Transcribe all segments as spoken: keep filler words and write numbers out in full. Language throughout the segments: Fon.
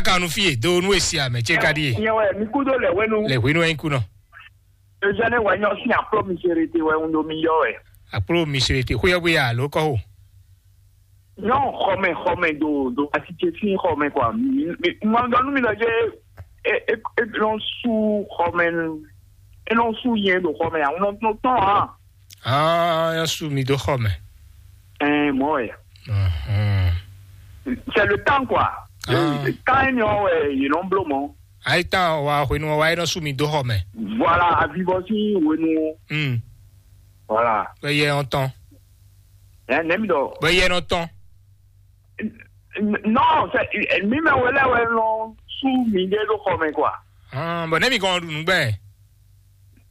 kan nú fí e, do nú e si amɛ ce ka ɖíe. Nyɛ wɛ mi kúdó lɛ wɛnu. Le hwenu wɛ nyí kú nɔ. Ezɛnɛ wɛ nyɔ sín akplɔ mi sere te wɛ un ɖo mi yɔ wɛ. Akplɔ mi sere te xóyɔ bóyá alo kɔ o. Nyɔ xɔmɛ xɔmɛ do do asitse sín xɔmɛ kɔ. Mi mi ŋɔ dɔ nú mi lɔ jɛ e e e nɔ su xɔmɛ nu. E nɔ su yɛn do xɔmɛ a un nɔ tɔn tɔn a. Ah, ya su mi do xɔmɛ. Ɛɛ mɔ wɛ. Mhm. C'est le temps quoi. Ah. Kan e nyɔ wɛ yě nɔ bló mɔ. Ayi tán wa hwenu wa e nɔ su mi dó xɔ mɛ. Voilà, avivɔ sín hwenu. Hmm. Voilà. Bɛ yɛ ɔn tɔn. Ɛ nɛ mi dɔ. Bɛ yɛ nɔ tɔn. Non, c'est mi mɛ wele wɛ nɔ su mi de do xɔ mɛ quoi. Hɔn bɔn ne mi kɔn ɖu nugbɛ.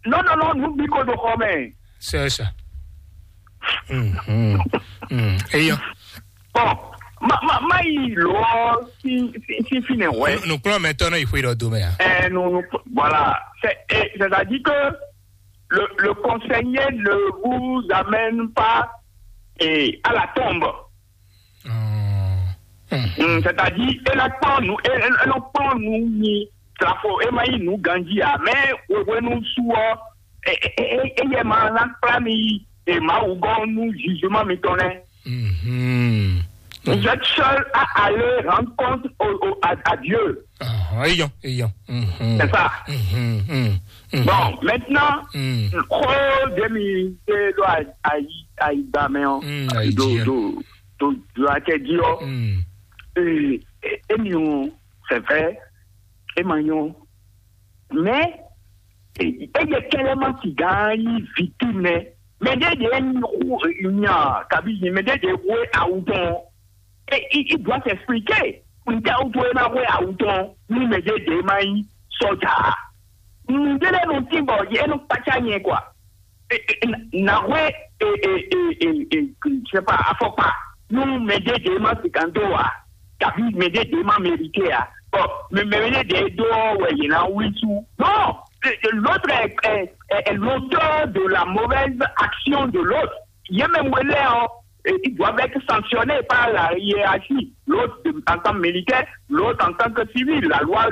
Non, non, non, nu bi ko do xɔ mɛ. C'est ça. Hmm, hmm, hmm. Eyɔ. Bon, ma ma ma yi lɔ si si si fi nɛ wɛ. Nukplɔn mɛ tɔn nɔ yi xwe dɔ do mɛ a. Ɛ nu nu voilà, c'est eh, c'est-à-dire que le le conseiller ne vous amène pas eh, à la tombe. Hmm. Hmm, c'est-à-dire e la kpɔn nu e e- e nɔ kpɔn nu nyi trafo e ma yi nu ganji a mɛ wewenu su ɔ e e e e yɛ ma na kpla mi yi e ma wu gɔn nu jugement mi tɔn nɛ. Mhm. Vous êtes seul à aller rendre compte au, au, à, à Dieu. Ah, eyɔn eyɔn. Mhm. C'est ça. Mhm, mhm, mhm. Bon, maintenant, Hmm. Xó ɖé mi ɖe ɖo ayi ayigba mɛ ɔ. Hmm, ayi Do jí, do do do akɛ jí ɔ. Hmm. Ee, e- emi o, c'est vrai, e ma nyɔ. Mais e- eye kɛlɛ ma ti gán yi victime nɛ. Mais ɖe ɖe nya kabi yi, mais ɖe ɖe wo awu tɔn. Et il, il doit s'expliquer. Ntɛ o to e ma hwe awu tɔn ni mɛ ɖe ɖe ma yi sɔja. Nde lɛ no tin bɔ ye no kpacha nyɛ quoi. E- e- na- na hwe e- e- e- e- e- je sais pas, afɔkpa nu mɛ ɖe ɖe ma sikanto wa, tabi mɛ ɖe ɖe ma mérité a. Bon, mais mɛ ɖe ɖe do wɛ ye na wi su. Non, c'est- c'est l'autre est, est, est, est l'auteur de la mauvaise action de l'autre. Ye même wele en, et ils doivent être sanctionnés par la hiérarchie. L'autre en tant que militaire, l'autre en tant que civil. La loi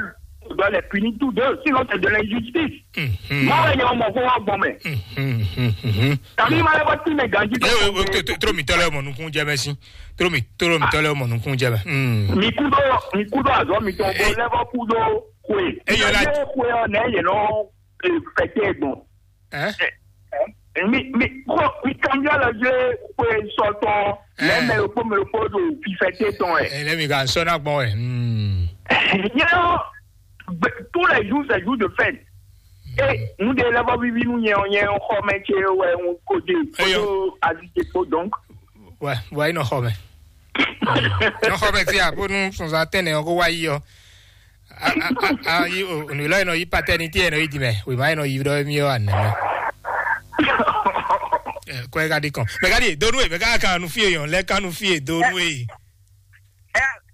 doit les punir tous deux, sinon c'est de l'injustice. Mhm. Moi, il y a mon grand bon, mais Mhm, mhm, mhm. T'as mis mal à votre mais Gandhi. Eh, eh, eh, tro- tro- tro mi tɔlɛ mɔ nukun jɛ mɛ si. Tro mi tro mi tɔlɛ mɔ nukun jɛ mɛ. Hmm. Mi kudo, mi kudo azɔ mi tɔn ko Eh. Lɛbɔ kudo kwe. Eh, yɔ la- Ye kwe ɔ nɛ ye nɔ eh, fɛtɛ gbɔn. Hein? Mi mi ko mi kanbiɔ lɔ jɛ kwe sɔtɔ. Eh. Lɛ mɛ yokpo mɛ yokpo do fifɛte tɔn ɛ. Eh, lɛ mi ka sɔ na gbɔn ɛ. Hmm. Nyɛ ɔ, tous les jours c'est jour de fête. E nu de lɛ bɔ vivi nu nyɛ ɔ nyɛ xɔ mɛ ce wɛ un ko de Eyɔ. Kodo avi ce ko donc. Ouais, ouais, nɔ xɔ mɛ. Nɔ xɔ mɛ fia bónú sɔnzɔn atɛnɛ ɔ kó wá yi ɔ. A a a a yi o nu lɔ yi nɔ yi paternité yɛ nɔ yi di mɛ. Oui, ma yi nɔ yi ɖɔ mi ɔ anɛ mɛ. Kɔ ɛ ka di kɔn. Mɛ ka di donu e mɛ ka kan nu fie yɔn lɛ kan nu fie donu e.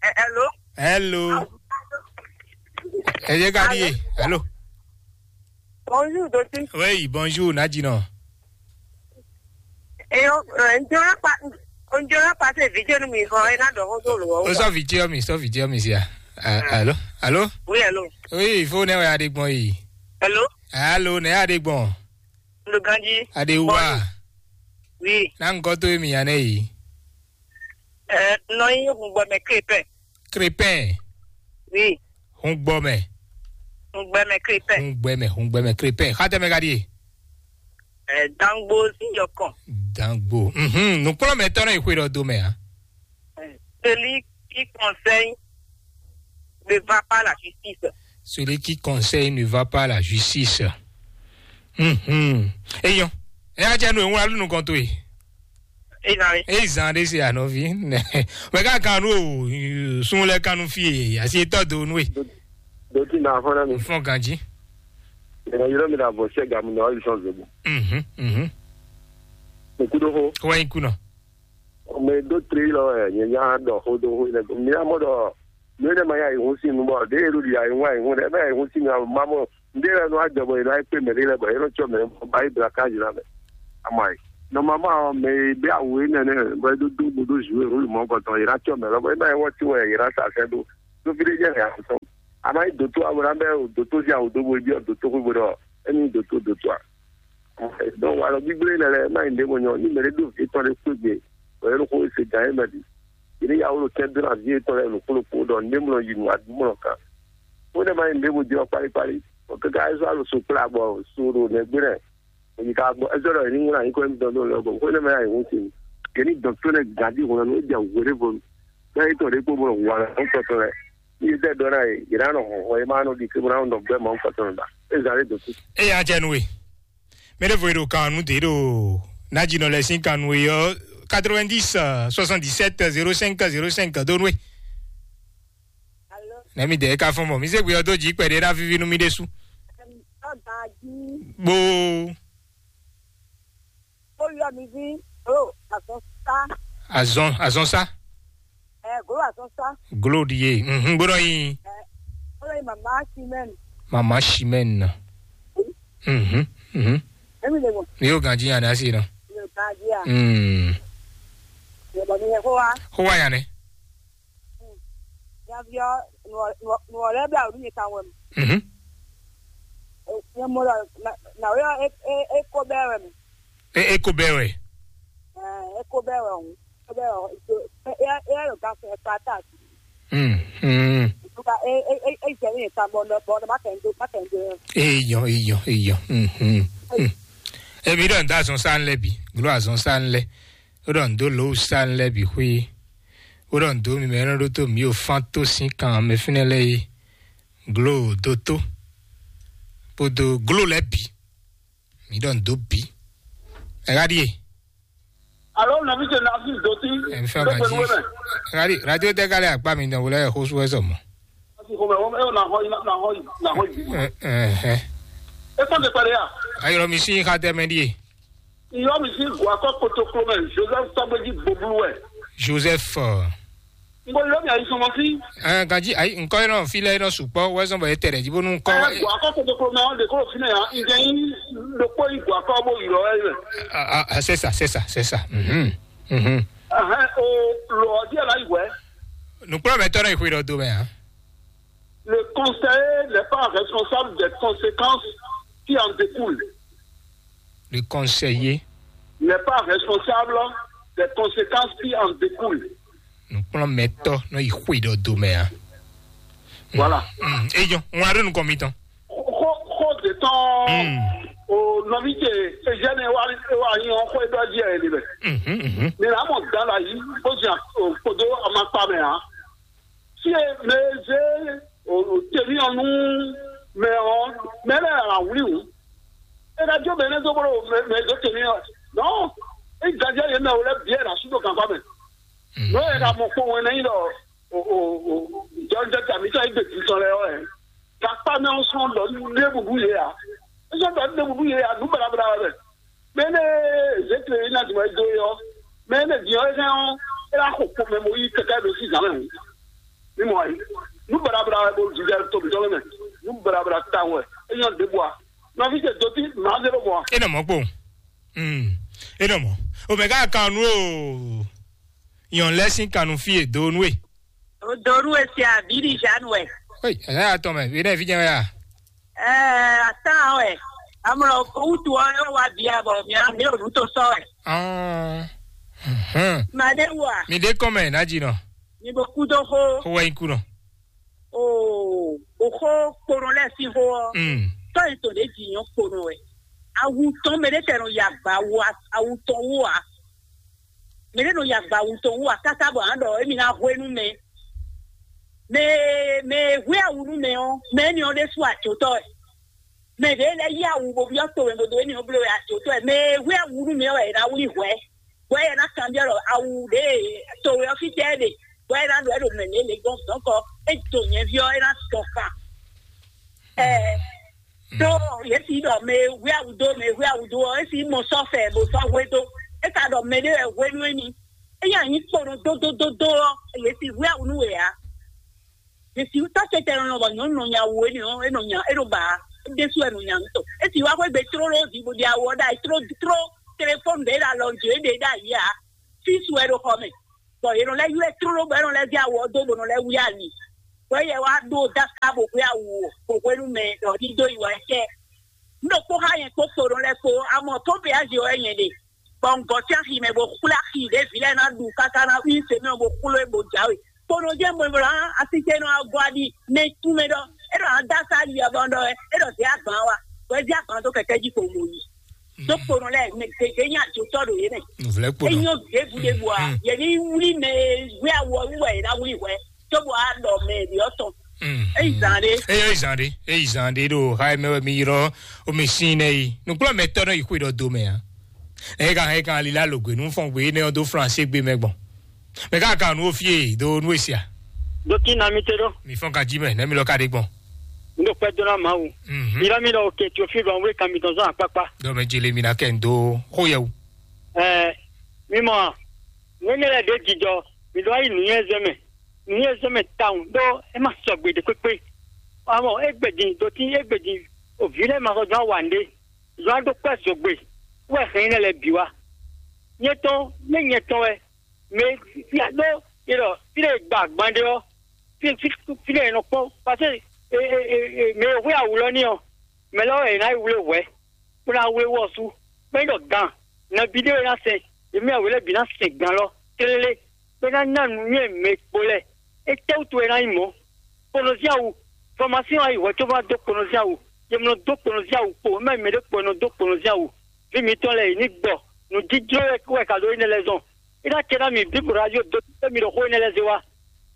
Hello. Hello. Ẹ yé ka di ye. Hello. Bonjour, Dotí. Oui, bonjour, Nadjino. Et on, euh, on dirait pas, on dirait pas ces vidéos, nous, mais on est dans le rôle de l'eau. Ó sọ fìdí ọmì, sọ fìdí ọmì sí à. Allô? Allô? Oui, allô. Oui, il faut ne ya de gbọn yìí. Allô? Allô, ne ya de gbọn. Le Gandhi. Adéwà. Oui. Náà ń kọ́ tó èmi yàn náà yìí. Euh, non, il y a un bon, mais Crépin. Crépin. Oui. Hungbɔmɛ. Hungbɔmɛ Crépin. Hungbɔmɛ, hungbɔmɛ Crépin. Xatɛ mɛ ka di ye? Euh, Dangbo Ziyɔkɔn. Dangbo. Mhm. Nukplɔ mɛ tɔnɔ yi xwe dɔ do mɛ a. Celui qui conseille ne va pas la justice. Celui qui conseille ne va pas la justice. Mhm. Eyɔn. Ɛ ajá nu ìwúra lónìí kan tó yìí. Ìzànrí. Èyí zan ɖé se ànɔvi. Mɛ ká kan nu o sun lɛ kan nu fi yìí àti etɔ do nu e. Doti na afɔ na mi. Fɔn ganji. Ɛ yɔrɔ mi na bɔ sɛ gamu na ɔli sɔn zobo. Mhm. Mhm. Okudo ho. Kɔwa yi kunɔ. Ɔmɛ do tri lɔ ɛ nyɛ nya dɔ ho do ho lɛ mi amɔ dɔ mi ne ma ya yi hun si nu bɔ de elu di ya yi hun ayi hun dɛ bɛ yi hun si mi amɔ mamɔ nde lɛ nu adɔ bɔ yi na kpe mɛ de lɛ bɔ yi nɔ tsɔ mɛ bɔ ba yi bla ka yi la mɛ ama yi nɔmamɔ mɛ yi bɛ awu yi nɛnɛ bɔ yi do do bo do zu yi hun mɔ kɔtɔn yi na tsɔ mɛ lɔ bɔ yi na yi wɔ ti wɛ yi na sa sɛ do do fi de jɛ ya sɔn. A ma nyí dotó ǎ, bó ná bɛ́ dotó sín awu dó bó yi byɔ́ dotó xwé bó ɖɔ émí nyí dotó dotó ǎ. Donc walɔ gbígbé lɛ́ lɛ́ɛ má nyí ɖěvo nyɔ ní mɛ ɖé ɖo vǐ tɔn ɖé xwé gbe, bɔ é ɖo xó e se gǎn é mɛ bǐ. Yě ní yawó ɖo tɛ́ dó ná vǐ yětɔn lɛ́ɛ nǔkplɔ́kplɔ́ ɖɔ nǔɖé mlɔ yi nǔ wá dú mlɔ kan. Bó nɛ́ má nyí ɖěvo jɛ ɔ́ kpáɖí kpáɖí, bɔ káká é zɔ́ alo so kplá bɔ so ɖo nɛgbé lɛ́ɛ. Èyí ka gbɔ é zɔ́ ɖɔ yě ní ŋlá nyǐkɔ émítɔn dó lɔ bɔ xó énɛ́ mɛ ná nyǐ hún sin. Yě ní dɔn tó lɛ́ɛ gǎn ɖi hǔn ɔ́ nú é jɛ wǔ ɖěvo. Bɛ́ yětɔn ɖě kpó bó nɔ hu alɔ nú tɔn tɔn lɛ́ɛ. Ní yě zɛ ɖɔ ná yě, yě ná nɔ hɔn hɔn, yě má nɔ ɖi ké bó ná nɔ gbɛ́ Mawu kpɔtɔ́ nɔ ɖa. É zǎn lé dǒ kú. Eya jɛ nú we. Mɛ ɖěvo e ɖo kan nú dě ɖo nájínɔ lɛ́ɛ sín kan nú we ɔ́, quatre-vingt-dix, soixante-dix-sept, zéro cinq, zéro cinq, dó nú we. Alo, Nɛ mi dɛ ka fɔn mɔ. Mi se gbe ɔ́ dó jǐ kpɛɖé ɖá víví nú mi ɖésú. Ɔba jí. Bó. Ó yɔ mi ví. Ó azɔn sá. Azɔn, azɔn sá. Ɛ glo azɔn sá. Glo ɖi ye. Mhm, gbɔdɔ yi. Ɛ ó lɔ yi mama simɛn. Mama simɛn. Mhm, mhm. Emi le mo. Mi yóò ganji yan dá sí nɔ. Mi yóò ganji ya. Mm. Yɛ bɔ mi yɛ ko wa. Ko wa yan ne. Nyaviɔ, nɔ lɛ bla wǔ nú nyɛ tawun wɛ mɛ. Mhm. Nyɛ mɔ ɖɔ nawě ɔ́, é ko bɛ́ wɛ mɛ. E e ko bɛ́ wɛ. É ko bɛ́ wɛ hǔn, é bɛ́ wɛ hǔn, é é é ɖo gafɛ kpata. Mm. Mm. Ntuka é é é é jɛ ní nyɛ tawun bɔ nɔ bɔ nɔ má tẹ̀ ń dó má tẹ̀ ń dó. Eyɔ, eyɔ, eyɔ. Mhm. Mm. Èmi ɖɔ ń dó azɔn sá ń lɛ bì, glo azɔn sá ń lɛ. Ó ɖɔ ń dó lǒ sá ń lɛ bì xwé. Ó ɖɔ ń dó mi mɛ nɔ ɖó tó mi ò fán tó sín kan mɛ fínɛ́ lɛ yé. Glo dó tó. Kpódó glo lɛ bì. Mi ɖɔ ń dó bì. Ɛ ɣá ɖíe. Alo nɔvi ce na fi doti. Ɛ mi fẹ́ ganji. Ɣá ɖí radio tɛ kálẹ̀ àgbà mi dán wọlé ẹ̀ xósú ẹ̀ sọ̀mọ́. Asi xɔmɛ wɔm ɛ na xɔ yi na xɔ yi na xɔ yi. Ɛ ɛ ɛ. E kɔn te kpɛlɛ ya. Ayọ̀rọ̀ mi sí xatɛ mɛ ɖíe. Iyɔ mi sí gua kɔ kotoklo mɛ Joseph Sɔgbɛji Boblu wɛ. Joseph. Ɔ, N ko yɔ mi ayi sɔmɔ fi. Ɛ ganji ayi nkɔ yɛ nɔ fi lɛ yɛ nɔ sukpɔ wɛ sɔn bɔ yɛ tɛ ɖɛ ji bonu nkɔ. Ɛ gua kɔ kotoklo mɛ ɔ de ko fi nɛ ya. N jɛ yi ɖokpo yi gua kɔ bo yi lɔ wɛ mɛ. Ah, ah, c'est ça, c'est ça, c'est ça. Mhm. Mhm. Ɛhɛn, o lɔ ɔ díẹ̀ la yi wɛ. Nukplɔmɛtɔ nɔ yi xwe ɖɔ do mɛ a. Le conseiller n'est pas responsable des conséquences qui en découlent. Le conseiller n'est pas responsable des conséquences qui en découlent. Nukplɔmɛtɔ nɔ yi xwe ɖɔ do mɛ a. Voilà. Mm, eyɔ, ŋun aɖo nukɔn mi tɔn. Xo xo de tɔn. Mm. O nɔvi ce ezɛnɛ wa wa yi ɔn xo edɔ di ɛ de bɛ. Mhm, mhm. Mi la mɔ dan la yi o zi o kodo amakpa mɛ a. Si e mɛ e zé o temi ɔ nú mɛ ɔ mɛ lɛ a wuli o. E ka jó mɛ ne dó bolo mɛ mɛ dó temi ɔ. Non, e ganja yɛ mɛ o lɛ biɛ la su do gangba mɛ. Mhm. N'o yɛ ka mɔ kpɔn wɛn n'ayi lɔ o o o jɔnjɔ tami tɔ egbe titɔ lɛ ɔ yɛ. Gakpa mɛ ɔ sɔn dɔ ne bubu yɛ a. E sɔn dɔ ne bubu yɛ a nu balabala wɛ. Mɛ ne zete yi na duma do yɔ. Mɛ ne diɔ e kan ɔ e la xo kpɔn mɛ mo yi kɛkɛ do si zan mɛ. Ni mɔ ayi. Nu balabala wɛ bo jijɛ to mi dɔ mɛ. Nu balabala ta wɛ. E nyɔ de bua. Nɔvi ce doti maa zero bɔ. E nɔ mɔ kpo. Mm. E nɔ mɔ. O mɛ ka kan nu o. Yɔn lɛ sin kanu fi e do nu e. O doru e se abi di Jeanne wɛ. Oi, ɛlɛ atɔ mɛ, bi ne fi jɛ wɛ a. Ɛɛ, atan wɛ. Amlɔ wutu ɔ yɔ wa bia bɔ mi a mi o nu to sɔ wɛ. Ah. Mhm. Ma de wa. Mi de kɔn mɛ na ji nɔ. Mi bo ku do xo. Xo wɛ nyi ku nɔ. Oo, o xo kponɔ lɛ sin xo ɔ. Mm. Tɔ yi to de ji nyɔ kponɔ wɛ. Awu tɔn mɛ de tɛ nɔ ya gba wo a, awu tɔn wo a. Mɛ ɖé nɔ yi agba wutɔn wú akáká bɔ a ɖɔ émí ná hwenu mɛ. Mɛ mɛ e hwé awu nú mɛ ɔ́, mɛ énɛ́ ɔ́ ɖésú ajotɔ́ wɛ. Mɛ ɖě lɛ́ yí awu bó byɔ́ to mɛ bó dó énɛ́ ɔ́ bló wɛ ajotɔ́ wɛ. Mɛ e hwé awu nú mɛ ɔ́ wɛ è nǎ wlí hwɛ̌, bɔ é ná kanbyɔ́ ɖɔ awu ɖě e to wɛ ɔ́ fítɛ́ ɛ ɖe, bɔ é ná ɖɔ é ɖo mɛ̌ mɛ lě gɔ́n dɔ̌nkɔ, é do nyɛ̌ví ɔ́, é ná dɔn kan. Ɛɛ, ɖó yě si ɖɔ mɛ e hwé awu dó, mɛ e hwé awu dó ɔ́, é si mɔ sɔ́ fɛ bó sɔ́ hwé dó. É ka ɖɔ mɛ ɖé wɛ hwenu émí. É nyi anyi kpo nɔ dó dó dó dó ɔ́, yě si hwé awu nú we ǎ. Yě si tá tɛtɛ nɔ bɔ nyɔ̌nu nɔ nya wu énɛ́ ɔ́, é nɔ nya é nɔ ba ǎ. É ɖésú wɛ nɔ nya nǔ tɔn. É si wá xwé gbe tlóló jí bó ɖi awu ɔ́ ɖ'ayǐ tló tló telefɔ́nu ɖě ɖo alɔ jí é ɖe ɖ'ayǐ ǎ. Físu wɛ ɖo xɔ mɛ. Bɔ yě nɔ lɛ́ ylɔ́ ɛ tlóló bɔ é nɔ lɛ́ zé awu ɔ́ dó bó nɔ lɛ́ wlí ali. Wɛ yɛ wá ɖó dáká bò hwé awu o, bò hwenu mɛ ɖɔ ní dó yi wɛ cɛ. Un ɖo kpó xá nyɛ kpó so ɖo lɛ́ɛ kpó, amɔ tó péyázi wɛ nyɛ ɖe. Bɔ un gɔ́ sín axi mɛ bó xwlé axi ɖě vǐ lɛ́ɛ ná ɖu káká ná wí se mɛ bó xwlé bó jǎwe. Kpono jẹ́ mɔ̌ bla asísɛnɔ agɔ́ aɖi mɛ tún mɛ ɖɔ é ɖɔ adá sá ali abɔ ɖɔ é ɖɔ zé agban wa. Wɛ zé agban dó kɛkɛ jí kpo mo yi. Tó kpono lɛ mɛ gègé nya jotɔ ɖo yé mɛ. Nvlɛ kpo nɔ. Enyo ɖěbǔ ɖěbǔ a yɛ ní wlí mɛ wí awɔ wí wɛ yě ná wlí hwɛ. Tó bɔ a ɖɔ mɛ ɖi ɔtɔn. Eyi zan ɖe. Eyi zan ɖe. Eyi zan ɖe ɖo ha mɛ wɛ mi yrɔ o mi sin nɛ yi. Nukplɔ mɛ tɔ nɔ yi xwe ɖɔ do mɛ a. Ɛ kan ɛ kan ali la lo gbe nu fɔn gbe ne ɔ do flanse gbe mɛ gbɔn. Mɛ ka kan nu o fie do nu esia. Ɖo kí na mi te ɖo. Mi fɔn ka jí mɛ ne mi lɔ ka ɖe gbɔn. N ɖo kpɛ dó ná Mawu. Mhm. Mi lɔ mi lɔ òkè tí o fi lɔ wé kan mi tɔn zɔn akpakpa. Dɔ mɛ jele mi na kɛ n do xo yɛ wu. Ɛɛ, mi mɔ a? Nú énɛ́ lɛ́ɛ ɖě jijɔ, mi ɖó ayi nǔnywɛ́zɛ́ mɛ. Nǔnywɛ́zɛ́ mɛ tawun ɖó é ma sɔgbe ɖě kpékpé. Amɔ égbé din dotí égbé din òví lɛ́ɛ ma sɔ́ dó awa nɖé. Zɔn aɖó kpɛ́ zogbe wɛ hɛn énɛ́ lɛ́ɛ bǐ wá. Nyɛ tɔn nɛ́ nyɛ tɔn wɛ mɛ fia ɖó ilɔ fí ɖé gba agban ɖé ɔ́, fí fí fí ɖé nɔ kpɔ́n paseke mɛ e hwé awǔ lɔ ní ɔ́, mɛ lɔ wɛ è nǎ yi wlé hwɛ̌, bó ná wlé wɔ sú. Bɔ é ɖɔ gan, nɔví ɖé wɛ ná sɛn, yě mɛ wě lɛ́ɛ bǐ ná sɛn gan lɔ tlélé, bó ná ná nǔnywɛ́ mɛ kpo lɛ́ɛ. Étɛ́wútu wɛ é ná nyí mɔ̌? Kponɔzín awu, fɔmasín wá yi hwɛ̌ có bó ná dó kponɔzín awu. Yě mɔ dó kponɔzín awu kpo, é má nyí mɛ ɖé kpo e nɔ dó kponɔzín awu. Vǐ mǐtɔn lɛ́ɛ yě ní gbɔ, nǔjíjló wɛ wɛ ka ɖó énɛ́ lɛ́ɛ zɔn. É ná cɛ ná mi bǐ bó ná yó dó mi ɖo xó énɛ́ lɛ́ɛ zé wá.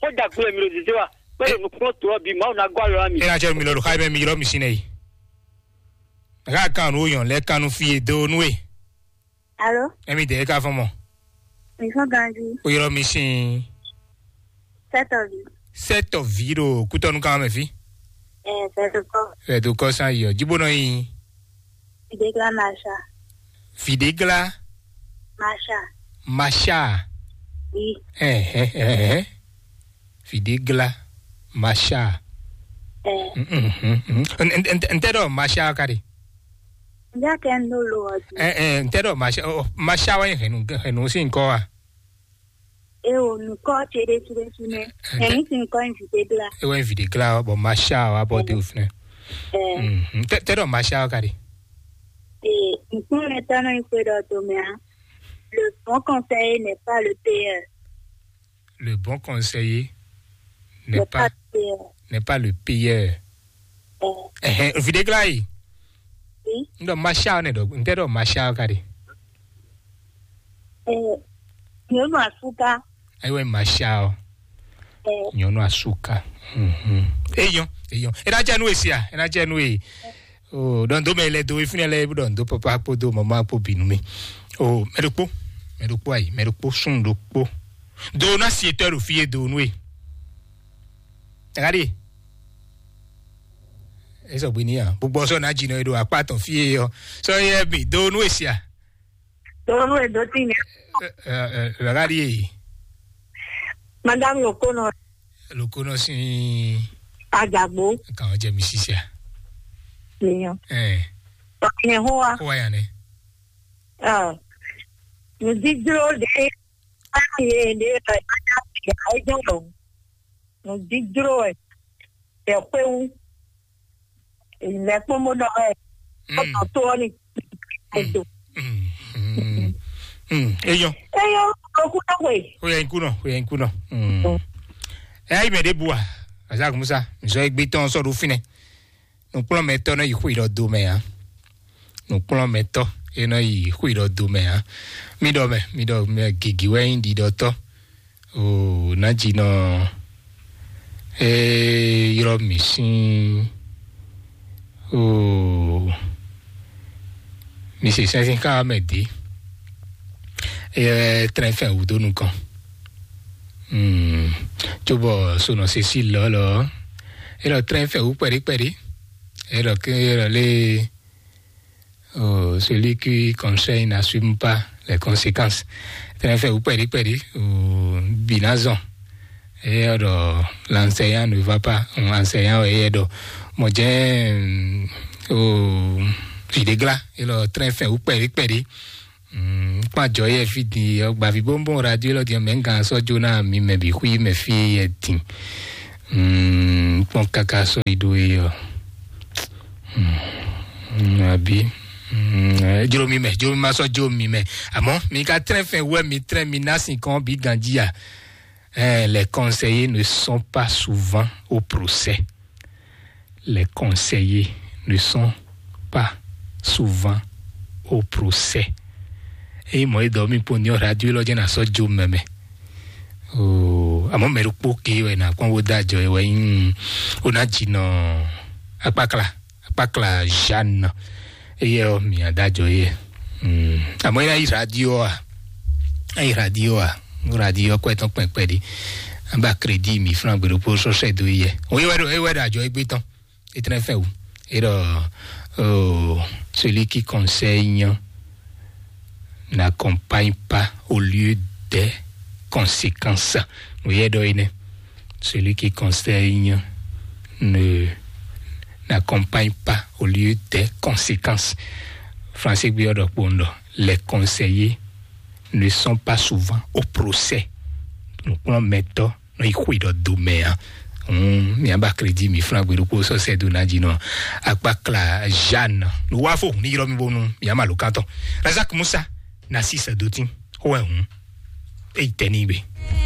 Xó dagbe wɛ mi ɖo zězé wá, bó ɖo nukúnnú to ɔ́ bǐ Mawu ná gɔ́ alɔ ná mi. É ná cɛ mi lɔ ɖo xá mɛ mi ylɔ́ mi sín nɛ yi. Xá kan nǔ yɔn lɛ kan nú fí e dó nú e. Alo? Emi dɛ ka fɔn mɔ. Mi fɔn ganji. O ylɔ́ mi sín. Sɛtɔvi. Sɛtɔvi ɖo kútɔnú kan mɛ fí. Ɛ, fɛdukɔ. Fɛdukɔ san yɔ. Jibo nɔ yi. Fidegla Masha. Fidegla. Masha. Masha. Oui. Ɛ, ɛ, ɛ, ɛ. Fidegla. Masha. Ɛ. N tɛ ɖɔ Masha ka ɖe. N ja kɛ n ɖo lo ɔ dzi. Ɛ, ɛ, n tɛ ɖɔ Masha, ɔ, Masha wɛ hɛn nu, hɛn nu si nkɔ wa. E o nukɔ ce ɖe su ɖe su nɛ. Ɛ, n tɛ- Hɛn mi si nkɔ n vi de bla. E wɛ vi de gla bɔ Masha wa bɔ de o finɛ. Ɛ. N tɛ, tɛ ɖɔ Masha ka ɖe. E, nukun le tɔ nɔ yi xwe ɖɔ to mɛ a. Le bon conseiller n'est pas le payeur. Le bon conseiller n'est pas, n'est pas le payeur. Ɛhɛn, videgla yi. N ɖɔ Masha ne ɖɔ, n tɛ ɖɔ Masha ka ɖe. Nyɔnu asuka. Ayiwa Masha o. Nyɔnu asuka. Mhm. Eyɔn, eyɔn. E na jɛ nu esi a? E na jɛ nu e. O ɖɔn do mɛ lɛ do efinɛ lɛ ɖɔn do papa kpo do mama kpo binu mi. O mɛ ɖokpo, mɛ ɖokpo ayi, mɛ ɖokpo sun ɖokpo. Do na si etɔ ɖo fi e do nu e. Tagadi. Esɔ gbe ni a. Gbogbo sɔ na dzi nɔ e ɖo akpa tɔn fi e yɔ. Sɔ yɛ mi do nu e sia. Do nu e do ti nyɛ. Tagadi e. Madame Lokono. Lokono si. Ajagbo. Kan jɛ mi sisia. Niyan. Eh. Nyɛ hoa. Hoa ya ne. Ah. Nous disons des. Ayi de. Ayi de. Nous disons. Tɛ xwéwu. Lɛ kpɔn bó ɖɔ wɛ. Kɔtɔ tó ɔ ni. Edo. Eyɔ. Eyɔ. Okú náà wẹ̀. Ó yẹ ikú náà, ó yẹ ikú náà. Ẹ ayé mẹ ɖé bu a, azak musa nzɔ egbe tɔn sɔ ɖo finɛ. Nukplɔnmɛtɔ nɔ yi xwé ɖɔ do mɛ a. Nukplɔnmɛtɔ e nɔ yi xwé ɖɔ do mɛ a. Mi ɖɔ mɛ, mi ɖɔ mɛ gigi wɛ nyi ɖiɖɔtɔ. O nadzinɔ e ylɔ mi sín. O mi se sɛnsɛn ká mɛ dé. E trɛn fɛn wúdo nukɔn. Hmm. Tso bɔ sonɔ se sí lɔlɔ. E lɔ trɛn fɛn wú kpɛɖé kpɛɖé. E lɔ ke e lɔ lé. Oh, celui qui conseille n'assume pas les conséquences. Tɛnɛ fɛ wú pɛɖi pɛɖi, oh, binazɔn. Et alors, l'enseignant ne va pas. L'enseignant est alors. Mɔdjɛ, oh, videgla. Et alors, très fin, ou pɛɖi pɛɖi. Kpajɔ yɛ fi di, gbavi bonbon radio lɔ di mɛ nga sɔ jona mi mɛ bi hui mɛ fi yɛ din. Mm, kpɔn kaka sɔ yi ɖo yi ɔ. Mm, abi. Mm, eh, jlo mi mɛ, jlo mi ma sɔ jlo mi mɛ. Àmọ́ mi ka trɛn fɛn wɛ mi trɛn mi ná sin kɔn bi ganji a. Eh, les conseillers ne sont pas souvent au procès. Les conseillers ne sont pas souvent au procès. Eyi mɔ edɔ mi po ni ɔ radio lɔ jɛ na sɔ jo mɛmɛ. Oh, àmọ́ mɛ ɖokpó ke wɛ na kpɔn wo da jɔ wɛ yin o na dzi nɔ akpakla akpakla Jeanne. Eye ɔ mi ada jɔ ye. Hmm. Àmọ́ ina yi radio a. Ayi radio a. Radio kɔ etɔn kpɛkpɛ di. An ba crédit mi franc gbe ɖokpó sɔsɛ do yɛ. O ye wɛ do, ye wɛ do ajɔ egbe tɔn. Etɛnɛ fɛ o. Et euh, celui qui conseille n'accompagne pas au lieu des conséquences. Vous voyez, donc, celui qui conseille ne n'accompagne pas au lieu des conséquences. Français, les conseillers ne sont pas souvent au procès. Donc, on met nɔ yi xwe ɖɔ do mɛ a. Hum, mi aba crédit mi franc gbe ɖokpó sɔ sɛ do na dzi nɔ akpakla Jeanne. Lo wa fo ni yɔrɔ mi bonu mi ama lo kantɔ. Razak Musa na si sɛ do tin. Xo wɛ hum. Eyi tɛ ni gbe.